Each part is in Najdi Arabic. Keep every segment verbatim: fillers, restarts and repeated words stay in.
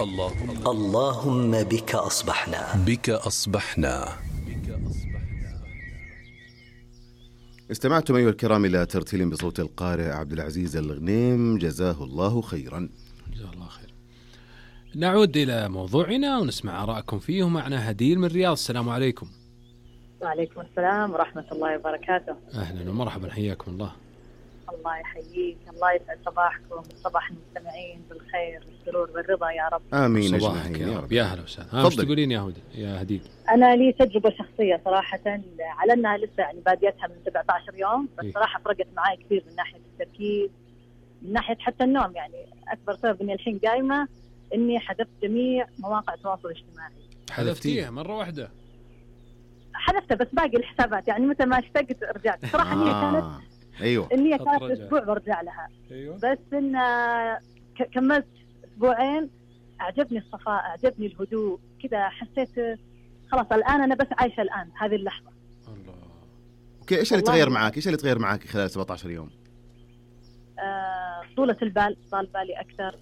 اللهم اللهم بك أصبحنا بك أصبحنا. استمعتم أيها الكرام إلى ترتيل بصوت القارئ عبد العزيز الغنيم، جزاه الله خيرا. جزاه الله خير. نعود إلى موضوعنا ونسمع آراءكم فيه. معنا هديل من الرياض. السلام عليكم. وعليكم السلام ورحمة الله وبركاته. أهلا ومرحبا، حياكم الله. الله يحييك، الله يسعد صباحكم، صباح المستمعين بالخير والسرور والرضا يا رب. آمين صباحك يا رب. يا هلا وسهلا. ايش تقولين يا هدى يا هديل؟ أنا لي تجربة شخصية صراحة، على أنها لسه يعني باديتها من سبعة عشر يوم، بس إيه؟ صراحة فرقت معي كثير من ناحية التركيز، من ناحية حتى النوم. يعني أكبر سبب إني الحين قايمة إني حذفت جميع مواقع التواصل الاجتماعي. حذفتيها مرة واحدة؟ حذفتها بس باقي الحسابات، يعني متى ما اشتقت رجعت. صراحة النية آه. كانت أيوة النية كانت أسبوع برجع لها. أيوة. بس إن ك- كملت أسبوعين، أعجبني الصفاء، أعجبني الهدوء، كذا حسيت خلاص الآن أنا بس عايشة الآن هذه اللحظة. الله. أوكي، إيش اللي والله تغير معاك؟ إيش اللي تغير معاك خلال سبعة عشر يوم؟ آه، طولة البال، طال بالي أكثر،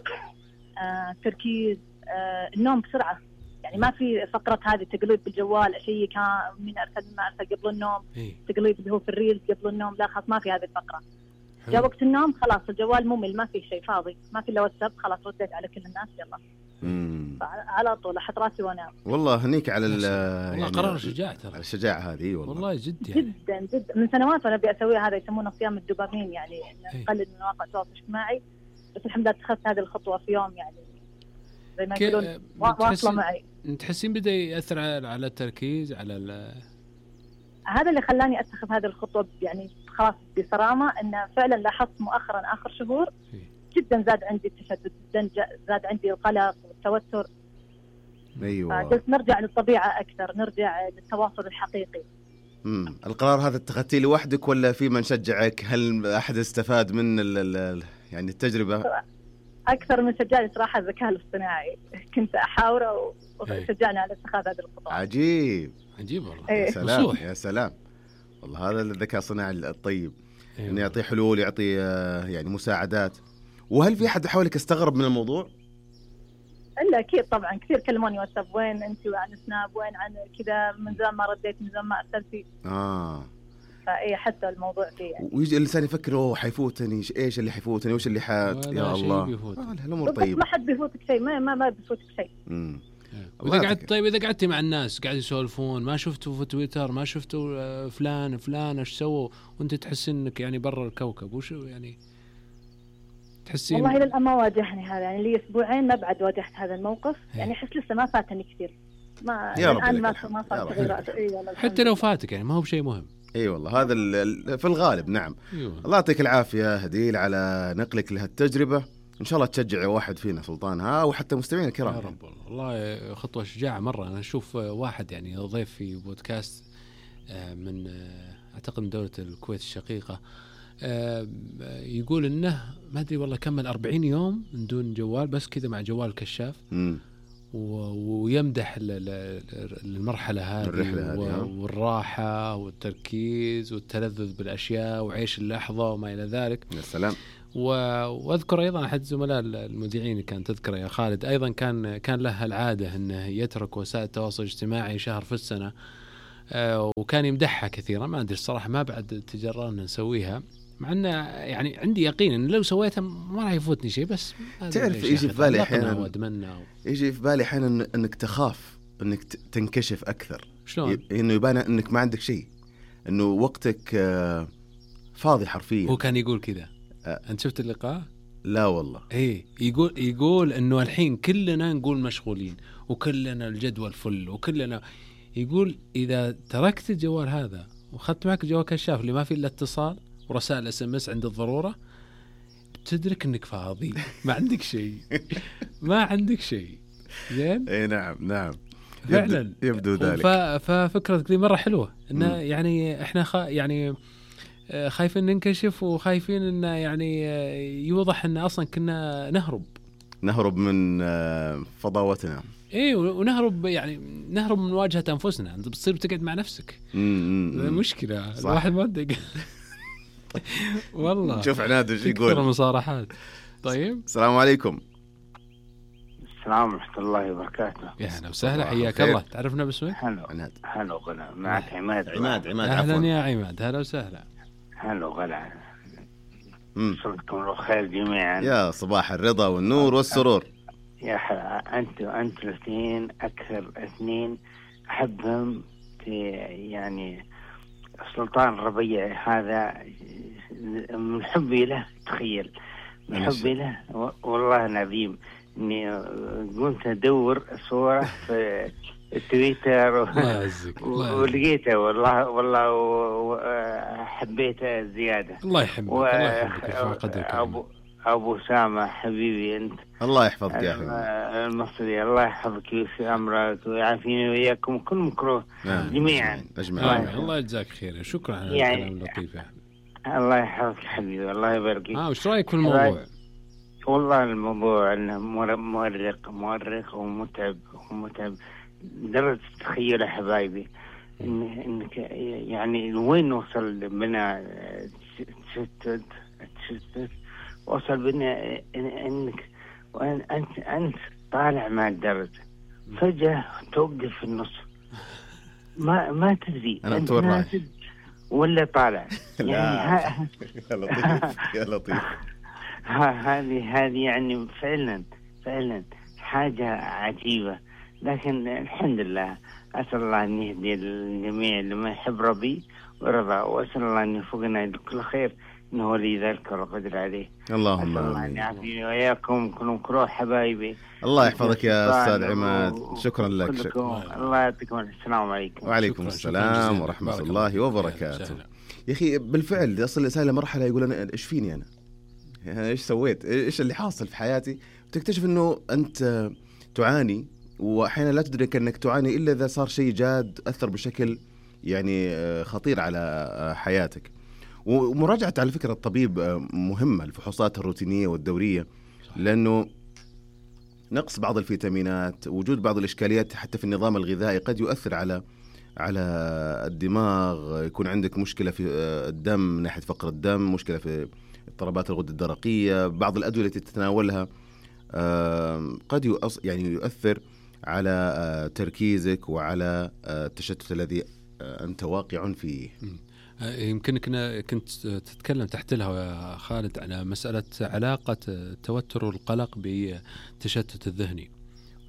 آه، تركيز، آه، النوم بسرعة. يعني ما في فقرة هذه تقليب بالجوال، أشيء كان من أرسل ما أرسل قبل النوم، إيه؟ تقليب اللي هو في الريلز قبل النوم، لا خلاص ما في هذه الفقرة. حلو. جاء وقت النوم خلاص الجوال ممل، ما في شيء، فاضي، ما في إلا واتساب، خلاص رديت على كل الناس يلا. مم. على طول أحط راسي وأنام. والله هنيك على ال والله يعني قرار شجاع ترى. على الشجاعة هذه والله. والله جد يعني. جدا جدا من سنوات وانا ابي اسويها، هذا يسمونه صيام الدوبامين، يعني إيه. نقلل من مواقع التواصل الاجتماعي. بس الحمد لله اتخذت هذه الخطوه في يوم، يعني زي ما كي- يقولون وا- واصله بتحسين- معي. تحسين بدأ يأثر على على التركيز على ال هذا اللي خلاني اتخذ هذه الخطوه، يعني خلاص بصرامه، انه فعلا لاحظت مؤخرا اخر شهور إيه. جدا زاد عندي التشتت، جدا جا- زاد عندي القلق والتوتر. أيوة. فقلت نرجع للطبيعه اكثر، نرجع للتواصل الحقيقي. مم. القرار هذا اتخذتيه لوحدك ولا في من شجعك؟ هل أحد استفاد من ال ال يعني التجربة؟ اكثر من شجعني صراحه الذكاء الاصطناعي، كنت احاوره إيه. وشجعني على اتخاذ هذه الخطوه. عجيب. عجيب والله. إيه. يا سلام وصوح. يا سلام. والله هذا الذكاء الصناعي الطيب، أيوة. إنه يعطي حلول، يعطي آه، يعني مساعدات. وهل في أحد حولك استغرب من الموضوع؟ الا اكيد طبعا، كثير كلموني واتساب، وين انت وعن سناب، وين عن كذا، من زمان ما رديت، من زمان ما ارسلتي. آه. فاي حتى الموضوع فيه يعني. ويجي الإنسان يفكر أوه حيفوتني، إيش اللي حيفوتني، وإيش اللي حاد ولا يا شيء الله. بيفوت. آه الأمور بالضبط، طيبة. ما حد بيفوتك شيء، ما ما, ما بيفوتك شيء. مم. وإذا الله قعدت يعطيك. طيب إذا قعدتي مع الناس قاعد يسولفون، ما شفتوا في تويتر، ما شفتوا آه، فلان فلان إيش سووا، وأنت تحسين إنك يعني برا الكوكب، وشو يعني تحسين؟ والله الى الان ما واجهني هذا، يعني لي اسبوعين ما بعد واجهت هذا الموقف، إيه. يعني احس لسه ما فاتني كثير، ما يا رب الان لك ما الحمد. ما يا صار رب تغيرات. لك اي والله الحمد حتى لو لله. فاتك يعني ما هو بشيء مهم. اي والله هذا ال- ال- في الغالب. نعم. أيوة. الله يعطيك العافيه هديل على نقلك لهالتجربه، ان شاء الله تشجع واحد فينا سلطان ها، وحتى مستمعين الكرام. يا رب والله. والله خطوة شجاعة مرة. أنا أشوف واحد يعني ضيف في بودكاست آه، من آه، أعتقد من دولة الكويت الشقيقة، آه، يقول إنه ما أدري والله كمل أربعين يوم من دون جوال، بس كذا مع جوال كشاف، امم و- ويمدح ال- ال- المرحلة هذه الرحلة هذه، ها؟ و- والراحة والتركيز والتلذذ بالأشياء وعيش اللحظة وما إلى ذلك. يا سلام. و- واذكر ايضا احد زملاء المذيعين كان تذكره يا خالد، ايضا كان كان له العاده انه يترك وسائل التواصل الاجتماعي شهر في السنه، آه، وكان يمدحها كثيرا. ما ادري الصراحه ما بعد تجربنا نسويها، مع انه يعني عندي يقين ان لو سويتها ما راح يفوتني شيء. بس تعرف يجي في بالي احيانا واتمنى و... يجي في بالي احيانا انك تخاف انك ت- تنكشف اكثر، شلون؟ ي- انه يبان انك ما عندك شيء، انه وقتك آه، فاضي حرفيا. هو كان يقول كذا. أه. انت شفت اللقاء؟ لا والله. ايه، يقول يقول انه الحين كلنا نقول مشغولين وكلنا الجدول فل وكلنا، يقول اذا تركت الجوال هذا واخذت معك جوال كشاف اللي ما فيه الا اتصال ورسائل اس ام اس عند الضروره، بتدرك انك فاضي، ما عندك شيء، ما عندك شيء. زين. اي نعم نعم فعلا يبدو, يبدو ذلك. ف- ففكرتك دي مره حلوه، انه مم. يعني احنا خ... يعني آه، خايفين ننكشف وخايفين انه يعني آه، يوضح ان اصلا كنا نهرب نهرب من آه، فضاوتنا. ايه، ونهرب يعني نهرب من مواجهه انفسنا. انت بتصير بتقعد مع نفسك، امم مشكله. صح. الواحد ما ادري والله شوف عناد ايش تكثر يقول. المصارحات. طيب السلام عليكم. السلام ورحمة الله وبركاته. يا هلا وسهلا، حياك الله. تعرفنا باسمك؟ هلا عناد. هلا وغلا، معك عماد. عماد عماد أهلا عفوا. يا عماد، هلا وسهلا. هلا وغلا، مم. صبحكم الخير جميعا. يا صباح الرضا والنور والسرور. يا حلا، أنت وأنت الاثنين أكثر اثنين أحبهم في يعني سلطان الربيع هذا، من حبي له تخيل، من حبي له والله العظيم إني قمت أدور صورة في التويتر ولقيته والله والله وحبيته زيادة. الله يحبك و... الله يحبك. أبو أبو سامة حبيبي أنت، الله يحفظك يا حبيبي المصري، الله يحفظك ويسر أمرك ويعافيني وياكم كل مكروه جميعا أجمعين. الله يجزاك خير، شكرا على يعني الكلام اللطيف يا الله يحفظك حبيبي، الله يبارك فيك. اه وش رأيك في الموضوع؟ والله الموضوع انه مؤرق مؤرق ومتعب ومتعب درجة تخيل حبايبي إن انك يعني وين نوصل بنا تشتت تشتت وصل بنا انك انت انت طالع مع الدرجة فجأة توقف في النص، ما ما تدري انت وين ولا طالع. يعني ها... يا لطيف يا لطيف. هذه هذه يعني فعلا فعلا حاجة عجيبة، لكن الحمد لله أسأل الله أن يهدي الجميع لما يحب ربي ورضا، وأسأل الله أن يوفقنا لكل خير إنه ولي ذلك والقدر عليه. اللهم أسأل الله أن يعافيني وإياكم كلهم كروه حبايبي. الله يحفظك يا أستاذ عماد، شكرا لك. شكرا. الله يعطيكم السلام عليكم. وعليكم السلام ورحمة الله وبركاته. يا أخي بالفعل يصل الإنسان لمرحلة يقول أنا إيش فيني أنا؟ يعني إيش سويت؟ إيش اللي حاصل في حياتي؟ وتكتشف إنه أنت تعاني، وأحيانا لا تدرك أنك تعاني إلا إذا صار شيء جاد أثر بشكل يعني خطير على حياتك. ومراجعة على فكرة الطبيب مهمة، الفحوصات الروتينية والدورية، لأنه نقص بعض الفيتامينات، وجود بعض الإشكاليات حتى في النظام الغذائي قد يؤثر على على الدماغ. يكون عندك مشكلة في الدم من ناحية فقر الدم، مشكلة في اضطرابات الغدة الدرقية، بعض الأدوية التي تتناولها قد يعني يؤثر على تركيزك وعلى التشتت الذي أنت واقع فيه. يمكنك كنت تتكلم تحت لها يا خالد على مسألة علاقة التوتر والقلق بالتشتت الذهني.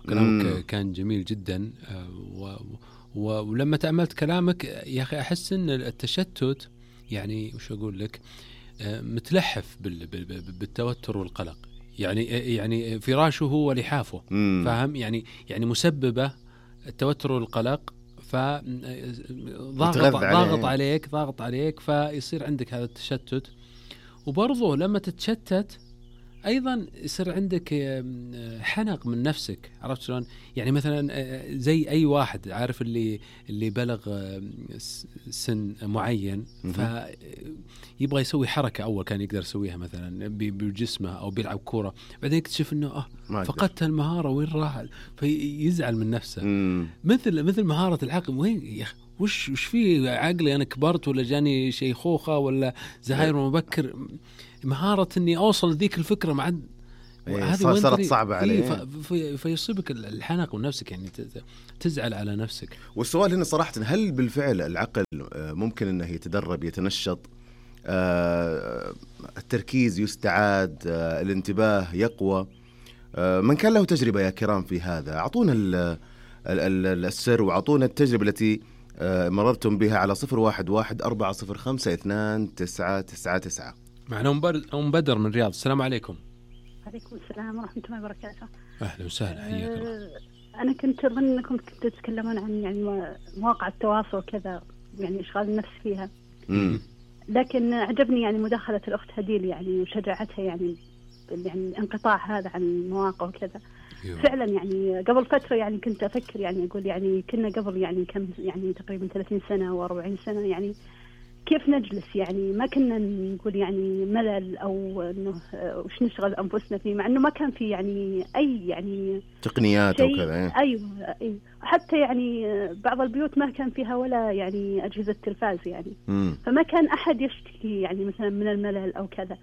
كلامك كان جميل جدا، ولما تأملت كلامك يا أخي أحس أن التشتت يعني وش أقول لك متلحف بالتوتر والقلق، يعني يعني فراشه هو لحافه، فاهم؟ يعني يعني مسببه التوتر والقلق، فضاغط ضاغط عليك ضاغط عليك فيصير عندك هذا التشتت. وبرضه لما تتشتت أيضا يصير عندك حنق من نفسك، عرفت شلون؟ يعني مثلا زي أي واحد عارف اللي اللي بلغ سن معين فيبغى يسوي حركة أول كان يقدر يسويها مثلا بجسمه أو بيلعب كورة، بعدين يكتشف إنه آه فقدت المهارة وين راح، فيزعل من نفسه. مم. مثل مثل مهارة العقل، وين يا أخي وش وش في عقلي أنا كبرت ولا جاني شيخوخة ولا زهاير مبكر؟ مهارة إني أوصل ذيك الفكرة مع هذه صارت صعبة عليه، في فيصيبك الحنق ونفسك يعني تزعل على نفسك. والسؤال هنا صراحة، هل بالفعل العقل ممكن أنه يتدرب يتنشط، التركيز يستعاد، الانتباه يقوى؟ من كان له تجربة يا كرام في هذا أعطونا السر وأعطونا التجربة التي مررتم بها على صفر واحد واحد أربعة صفر خمسة اثنان تسعة تسعة تسعة. معنا أم بدر من الرياض. السلام عليكم. عليكم السلام ورحمة الله وبركاته. أهلا وسهلا، حياك الله. أنا كنت أظن أنكم كنتوا تتكلمون عن يعني مواقع التواصل كذا، يعني إشغال النفس فيها. مم. لكن عجبني يعني مداخلة الأخت هديل يعني وشجاعتها يعني يعني الانقطاع هذا عن المواقع وكذا. يوه. فعلا يعني قبل فترة يعني كنت أفكر يعني أقول يعني كنا قبل يعني كم يعني تقريبا ثلاثين سنة وأربعين سنة يعني كيف نجلس يعني ما كنا نقول يعني ملل أو إنه وش نشغل أنفسنا فيه، مع إنه ما كان في يعني أي يعني تقنيات أو كذا. أيوة أيوة حتى يعني بعض البيوت ما كان فيها ولا يعني أجهزة تلفاز يعني. مم. فما كان أحد يشتكي يعني مثلا من الملل أو كذا.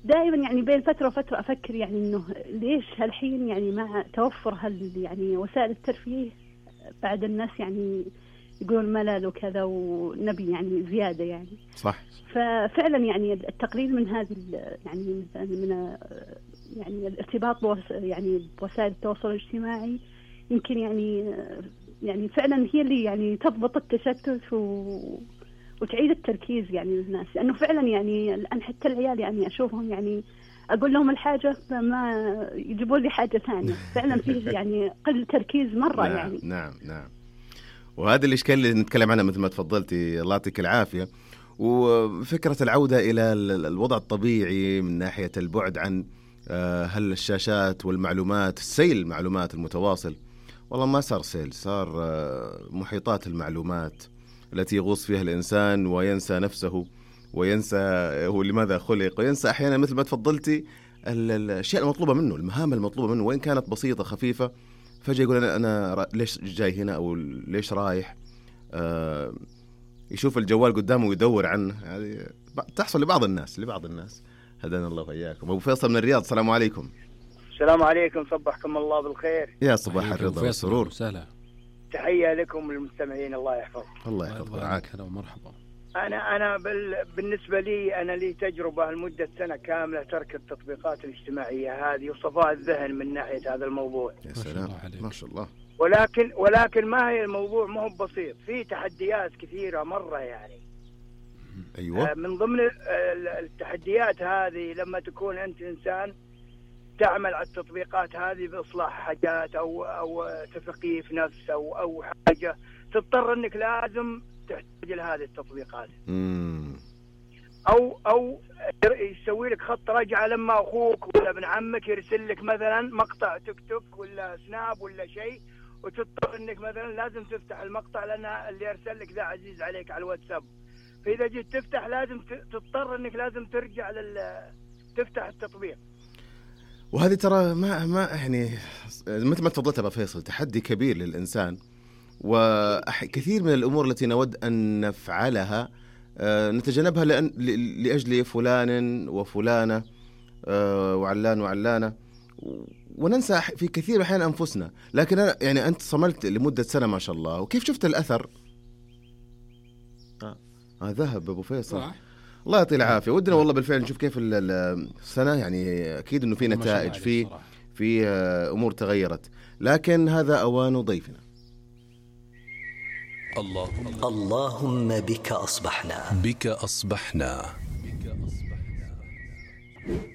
دائما يعني بين فترة وفترة أفكر يعني إنه ليش هالحين يعني مع توفر هال يعني وسائل الترفيه بعد الناس يعني يقولون ملل وكذا ونبي يعني زيادة يعني. صح. ففعلا يعني التقليل من هذه يعني من يعني الارتباط بوس يعني بوسائل التواصل الاجتماعي يمكن يعني يعني فعلا هي اللي يعني تضبط التشتت و وتعيد التركيز يعني للناس، لأنه فعلا يعني الآن حتى العيال يعني أشوفهم يعني أقول لهم الحاجة فما يجيبوا لي حاجة ثانية. فعلا فيه يعني قل تركيز مرة. نعم يعني نعم نعم. وهذا الإشكال اللي نتكلم عنه مثل ما تفضلتي، الله يعطيك العافية. وفكرة العودة إلى الوضع الطبيعي من ناحية البعد عن هل الشاشات والمعلومات، سيل المعلومات المتواصل. والله ما صار سيل، صار محيطات المعلومات التي يغوص فيها الإنسان وينسى نفسه وينسى هو لماذا خلق، وينسى أحيانا مثل ما تفضلتي الأشياء المطلوبة منه، المهام المطلوبة منه وإن كانت بسيطة خفيفة. فجأة يقول أنا, أنا ليش جاي هنا أو ليش رايح، آه يشوف الجوال قدامه ويدور عنه. هذه تحصل لبعض الناس لبعض الناس هدانا الله وإياكم. أبو فيصل من الرياض، السلام عليكم. السلام عليكم، صبحكم الله بالخير. يا صباح الرضا والسرور. سهلا. تحية لكم المستمعين، الله يحفظك. الله يحفظك ورعاك. هلا ومرحبا. أنا أنا بال... بالنسبة لي أنا لي تجربة لمدة سنة كاملة ترك التطبيقات الاجتماعية هذه وصفاء الذهن من ناحية هذا الموضوع. يا سلام ما شاء الله. ولكن ولكن ما هي الموضوع ما هو بسيط، في تحديات كثيرة مرة يعني. أيوة. من ضمن التحديات هذه لما تكون أنت إنسان تعمل على التطبيقات هذه بإصلاح حاجات أو أو تثقيف نفس أو أو حاجة، تضطر إنك لازم تحتاج لهذه التطبيقات. مم. أو أو يسوي لك خط رجعة لما أخوك ولا ابن عمك يرسل لك مثلا مقطع تيك توك ولا سناب ولا شيء، وتضطر إنك مثلا لازم تفتح المقطع لأن اللي يرسل لك ذا عزيز عليك على الواتساب. فإذا جيت تفتح لازم تضطر إنك لازم ترجع لل تفتح التطبيق. وهذه ترى ما ما يعني مثل ما تفضلت أبو فيصل تحدي كبير للإنسان، وكثير من الأمور التي نود أن نفعلها نتجنبها لأن لأجل فلان وفلانة وعلان وعلانة، وننسى في كثير من الأحيان أنفسنا. لكن أنا يعني أنت صملت لمدة سنة ما شاء الله، وكيف شفت الأثر؟ آه ذهب أبو فيصل. الله يعطيه العافية. ودنا والله بالفعل نشوف كيف السنة، يعني أكيد إنه في نتائج، في في أمور تغيرت، لكن هذا أوان ضيفنا. اللهم اللهم بك أصبحنا بك أصبحنا.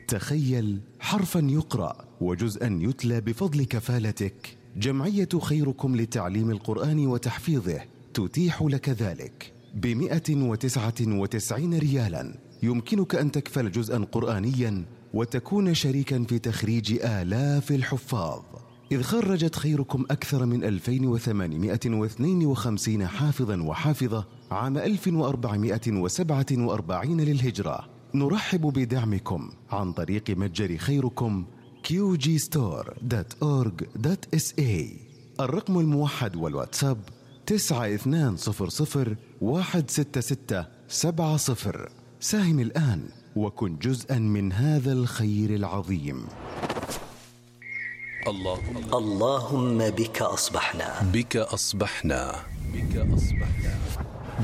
تخيل حرفا يقرأ وجزءا يتلى بفضل كفالتك. جمعية خيركم لتعليم القرآن وتحفيظه تتيح لك ذلك بمئة وتسعة وتسعين ريالا. يمكنك أن تكفل جزءا قرآنيا وتكون شريكا في تخريج آلاف الحفاظ، إذ خرجت خيركم أكثر من ألفين وثمانمئة واثنين وخمسين حافظا وحافظة عام ألف وأربعمئة وسبعة وأربعين للهجرة. نرحب بدعمكم عن طريق متجر خيركم كيو جي ستور دوت أورج دوت إس إيه. الرقم الموحد والواتساب تسعة اثنان صفر صفر واحد ستة ستة سبعة صفر. ساهم الآن وكن جزءا من هذا الخير العظيم. اللهم اللهم بك أصبحنا بك أصبحنا بك أصبحنا.